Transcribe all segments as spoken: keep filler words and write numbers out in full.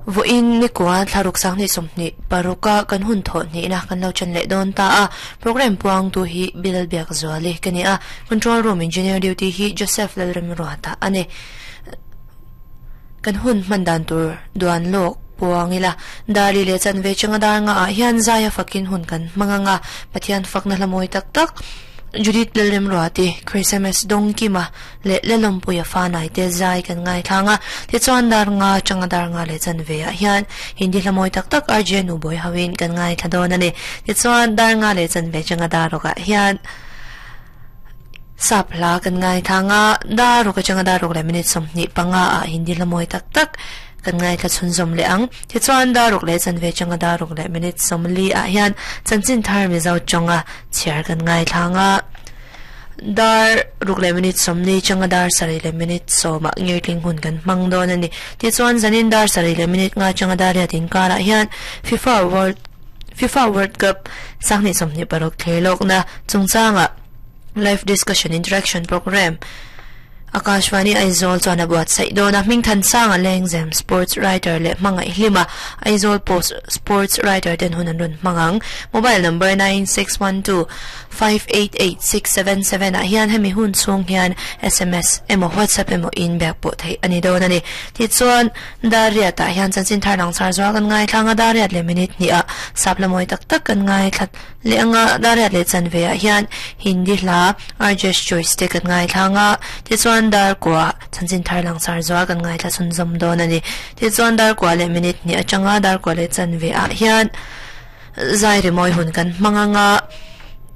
Voin ni kwa thlaruk sang ni somni paruka kan hun tho ni na kan lo chan le don ta a program puang tu hi Bilal Biak Zuali kani a control room engineer duty hi Joseph Lalrem Ruata ane kan hun mandan tur duan lok puangila dali le chan ve changa dar nga a hian zaya fakin hun kan manganga pathian fakna hlamoi tak tak Judith Lalrem Ruati Christmas dong kima le lelom puya fa nai te zai kan ngai thanga ti chuan dar nga changa dar nga le chan ve a hian hindi hlamoi tak tak R J nu boy hawin kan ngai thadon ani ti chuan dar nga le chan ve changa dar roka hian sapla kan ngai thanga dar roka changa dar rok le minute som ni panga a hindi hlamoi tak tak kan ngai tha chun zom le ang ti chuan dar rok le chan ve changa dar rok le minute som li a hian chanchin thar mi zau chonga chiar kan ngai thanga dar ruk le minute som ni changa dar sari le minute so ma ngir tling hun kan mang don ani ti chuan zanin dar sari le minute nga changa dar ya tin kara hian FIFA World FIFA World Cup sangni som ni parok thelok na chungchanga live discussion interaction program Akashvani Aizawl chuan a buat saih dawn a hming than sanga Lengzem sports writer le hmangaih hlima Aizawl Post sports writer ten hun an run hmangang mobile number nine six one two five eight eight six seven seven ah hian hemi hun chhung hian S M S emaw WhatsApp emaw in bag pawh theih ani dawn ani ti chuan dariat ah hian chanchin thar lang char zual kan ngai thlanga dariat le minute ni a sapla mawi tak tak kan ngai thlat le anga dariat le chan ve ah hian Hindi hla R J Choice te kan ngai thlanga ti chuan dar kwa chanchin thar lang sar zwa kan ngai thla chun zom don ani ti chuan dar kwa le minute ni atanga dar kwa le chan ve a hian zai re moi hun kan manganga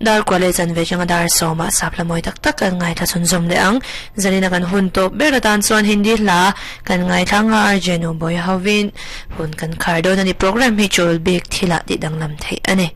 dar kwa le chan ve changa dar soma sapla moi tak tak kan ngai thla chun zom le ang zalina kan hun to beratan chuan Hindi hla kan ngai thlanga R J no boy hawin hun kan khar don ani program hi chol bek thila ti danglam thei ani.